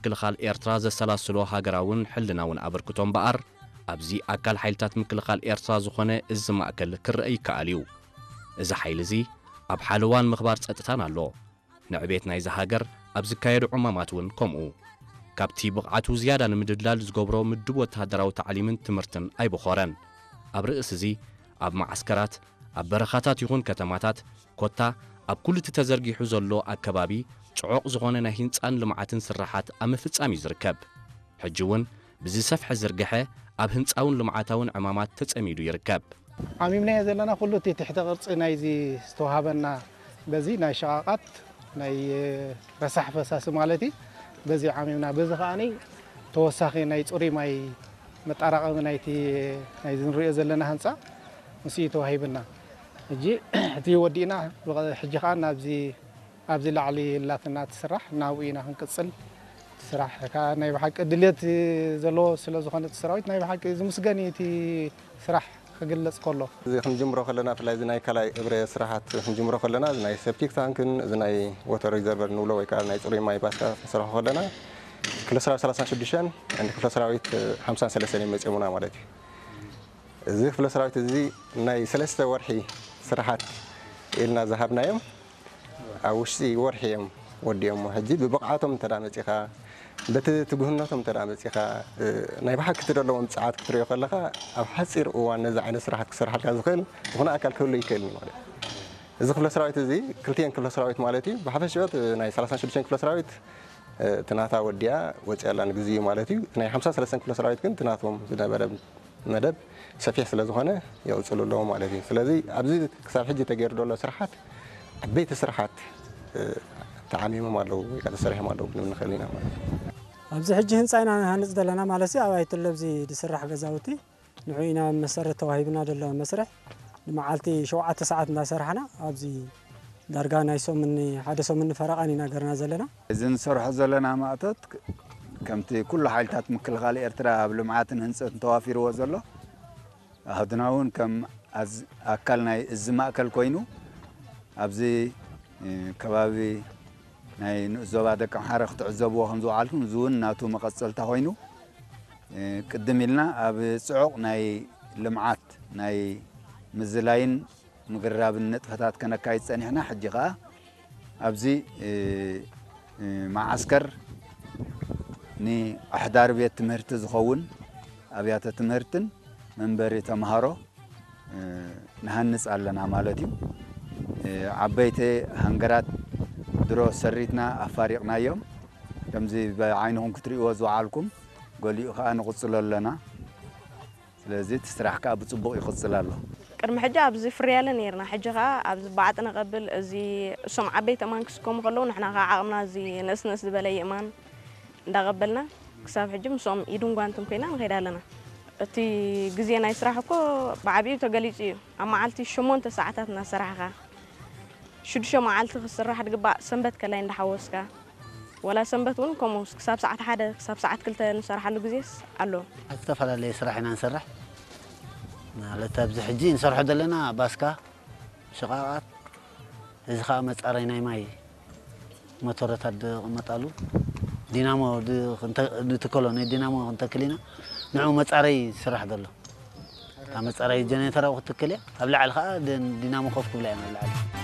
ምክልኻል ኤርትራ ዘሰላስሎ ሃገራውን ሕልናውን ኣበርክቶ እምበኣር፣ ኣብዚ ኣካል ሓይልታት ምክልኻል ኤርትራ ዝኾነ እዚ ማእከል ክረአ ይከኣል እዩ። እዚ ሓይሊ እዚ ኣብ ሓለዋን ምኽባር ጸጥታን ኣሎ። ንዕቤት ናይዛ ሃገር ኣብ ዝካየዱ ዕማማት እውን ከምኡ። ካብቲ ብቕዓቱ ዝያዳ ንምድልዳል ዝገብሮ ምዱብ ወተሃደራዊ ታዕሊምን ትምህርትን ኣይበኾረን። ኣብ ርእሲ እዚ፣ ኣብ መዓስከራት፣ ኣብ በረኻታት ይኹን ከተማታት፣ ኮታ ኣብ ኩሉ እቲ ተዘርጊሑ ዘሎ ኣከባቢ፣ ጽዑቕ ዝኾነ ናይ ህንጻን ልምዓትን ስርሓት ኣብ ምፍጻም እዩ ዝርከብ። ሕጂ እውን ብዝሰፍሐ ዝርግሐ ኣብ ህንጻውን ልምዓታውን ዕማማት ተጸሚዱ ይርከብ። ዓሚምናዮ ዘለና ኩሉ እቲ ትሕተ ቅርጺ ናይዚ ዝተዋሃበና፣ በዚ ናይ ሸቓቓት ናይ ረሳሕ ፈሳሲ ማለት እዩ። በዚ ዓሚምና፣ በዚ ከዓኒ ተወሳኺ ናይ ጽሩይ ማይ መጣራቐሚ ናይቲ፣ ናይዚ ንሪኦ ዘለና ህንጻ ምስ እዩ ተዋሂብና። ሕጂ እቲ ወዲእና፣ ብቐ-፣ ሕጂ ከኣ ናብዚ፣ ኣብዚ ላዕሊ ላትና ትስራሕ፣ ናብኡ ኢና ክንቅጽል። እቲ ስራሕ ከኣ ናይ ብሓቂ ድልየት ዘለዎ ስለ ዝኾነ፣ እቲ ሰራዊት ናይ ብሓቂ ዝምስገን እዩ፣ እቲ ስራሕ ክግለጽ ከሎ። እዚ ክንጅምሮ ከለና፣ ብፍላይ እዚ ናይ ካልኣይ እብረ ስራሓት ክንጅምሮ ከለና፣ እዚ ናይ ሴፕቲክ ታንክን እዚ ናይ ዎተር ሪዘርቨር ንብሎ ወይ ከኣ ናይ ጽሩይ ማይ ባስካ ክንሰርሖ ከለና፣ ክፍለ ሰራዊት ሰላሳን ሽዱሽተን፣ ክፍለ ሰራዊት ሓምሳን ሰለስተን እዮም መጺኦምና ማለት እዩ። እዚ ክፍለ ሰራዊት እዚ ናይ ሰለስተ ወርሒ ስራሓት ኢልና ዝሃብናዮም፣ ኣብ ውሽጢ ወርሒ እዮም ወዲኦሞ። ሕጂ ብብቕዓቶም እንተ ደኣ መጺኻ፣ በቲ ትጉህነቶም እንተ ደኣ መጺኻ፣ እ፣ ናይ ብሓቂ እቲ ዘለዎም ጽዓት ክትሪኦ ከለኻ፣ ኣብ ሓጺር እዋን ነዚ ዓይነት ስራሓት ክሰርሓልካ ዝኽእል ዝኾነ ኣካል ክህሉ ይክእል እዩ ማለት እዩ። እዚ ክፍለ ሰራዊት እዚ፣ ክልቲኤን ክፍለ ሰራዊት ማለት እዩ፣ ብሓፈሽኡ ናይ ሰላሳን ሽዱሽተን ክፍለ ሰራዊት፣ እ፣ እቲ ናታ ወዲኣ ወጺኣ ኣላ ንግዚኡ ማለት እዩ። እቲ ናይ ሓምሳን ሰለስተን ክፍለ ሰራዊት ግን እቲ ናቶም ዝነበረ መደብ ሰፊሕ ስለ ዝኾነ የቕጽሉ ኣለዉ ማለት እዩ። ስለዚ ኣብዚ ክሳብ ሕጂ ተገይሩ ዘሎ ስራሓት፣ ዓበይቲ ስራሓት፣ እ፣ ተዓሚሞም ኣለዉ ወይ ከዓ ተሰሪሖም ኣለዉ ክንብል ንኽእል ኢና ማለት እዩ። ኣብዚ ሕጂ ህንፃ ኢና ንሃንፅ ዘለና ማለት እዩ። ኣብ ኣይትለ ኣብዚ ዝስራሕ ገዛውቲ ንዑ ኢና መሰረት ተዋሂብና ዘሎ መስርሕ። ንመዓልቲ ሸውዓተ ሰዓት እንዳሰራሕና ኣብዚ ዳርጋ ናይ ሰሙን፣ ሓደ ሰሙን ፈረቓን ኢና ገርና ዘለና። እዚ ንሰርሖ ዘለና ማእቶት ክ-፣ ከምቲ ኩሉ ሓይልታት ምክልኻል ኤርትራ ኣብ ልምዓትን ህንፀትን ተዋፊርዎ ዘሎ፣ ኣህድና እውን ከም ኣዝ-፣ ኣካል ናይ እዚ ማእከል ኮይኑ ኣብዚ፣ እ፣ ከባቢ ናይ ንኡስ ዞባ ደቀምሓረ ክትዕዘብዎ ከም ዝወዓልኩም፣ እዚ እውን ናቱ መቐጸልታ ኮይኑ፣ እ፣ ቅድም ኢልና ኣብ ጽዑቕ ናይ ልምዓት ናይ ምዝላይን ምግራብን ንጥፈታት ከነካይድ ጸኒሕና። ሕጂ ኸኣ ኣብዚ፣ እ፣ እ፣ መዓስከር ንኣሕዳሪ ቤት ትምህርቲ ዝኸውን ኣብያተ ትምህርትን መንበሪ ተምሃሮ፣ እ፣ ንሃንጽ ኣለና ማለት እዩ። እ፣ ዓበይቲ ሃንገራት ድሮ ሰሪትና ኣፋሪቕናዮም። ከምዚ ብዓይንኹም ክትርእይዎ ዝወዓልኩም፣ ገሊኡ ኸኣ ንቕጽሎ ኣለና። ስለዚ እቲ ስራሕ ከኣ ብጽቡቕ ይቕጽል ኣሎ። ቅድሚ ሕጂ ኣብዚ ፍርያለ ነይርና፣ ሕጂ ኸኣ ኣብዚ ባዕጢ ነቐብል፣ እዚ እሶም ዓበይቲ እማን ክስከሙ ከለዉ ንሕና ኸኣ ዓቕምና እዚ ንእስ ንእስ ዝበለ ይእማን እንዳቐበልና ክሳብ ሕጂ ምስኦም ኢድን ጓንትን ኮይና ንኸይድ ኣለና። እቲ ግዜ ናይ ስራሕ እኮ ብዓቢኡ ተገሊጹ እዩ። ኣብ መዓልቲ ሸሞንተ ሰዓታት እናሰራሕኻ፣ ሽዱሽተ መዓልቲ ክስራሕ ድግባእ ሰንበት ከላይ እንዳሓወስካ፣ ወላ ሰንበት እውን ከምኡ ክሳብ ሰዓት ሓደ ክሳብ ሰዓት ክልተ ንሰርሓሉ ግዜስ ኣሎ። ዝተፈላለየ ስራሕ ኢና ንሰርሕ። ማለት ኣብዚ ሕጂ ንሰርሖ ዘለና ባስካ፣ ሽቓቓት፣ እዚ ኸዓ መጻረይ ናይ ማይ ሞተረታት ዝቕመጣሉ ዲናሞ ድ-፣ ክንተ-፣ ንትከሎ፣ ናይ ዲናሞ ክንተክል ኢና። ንዕኡ መጻረይ ስራሕ ዘሎ። እታ መጻረይ ጀነሬተር ኣብኡ ክትትክል እያ። ኣብ ላዕሊ ኸዓ ድ-፣ ዲናሞ ኮፍ ክብላ እየን ኣብ ላዕሊ።